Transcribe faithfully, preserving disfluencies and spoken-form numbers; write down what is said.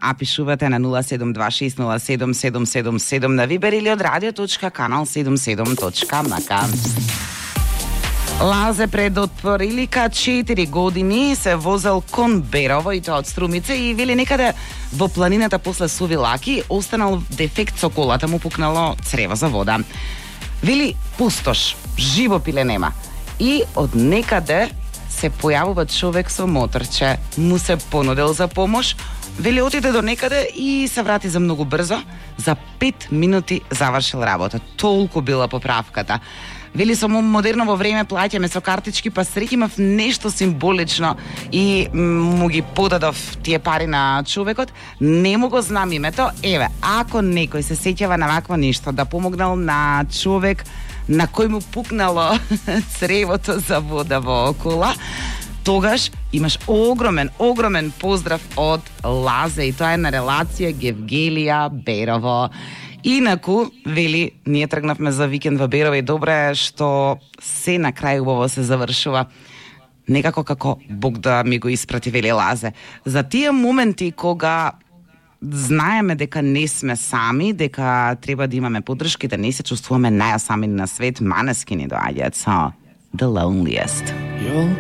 а пишувате на нула седум два шест нула седум седум седум седум на Вибер или од радио.канал седумдесет и седум точка ем ка. Лазе пред отприлика четири години се возел кон Берово и тоа од Струмица и вели некаде во планината после Сувилаки останал дефект со колата, му пукнало црево за вода. Вели пустош, живо пиле нема. И од некаде се појавува човек со моторче, му се понудил за помош, вели отиде до некаде и се врати за многу брзо, за пет минути завршил работа. Толку била поправката. Вели со модерново време плаќаме со картички, па среќи имав нешто символично и му ги подадов тие пари на човекот. Не му го знам името. Еве, ако некој се сеќава на вакво нешто, да помогнал на човек на кој му пукнало цревото за вода во кола, тогаш имаш огромен, огромен поздрав од Лазе и тоа е на релација Гевгелија Берово. Инаку, вели, ние тргнавме за викенд во Берово и добре е што се на крај убаво се завршува. Некако како Бог да ми го испрати, вели Лазе. За тие моменти кога знаеме дека не сме сами, дека треба да имаме поддршка и да не се чувствуваме најсами на свет, Манескини доаѓаат со The Loneliest.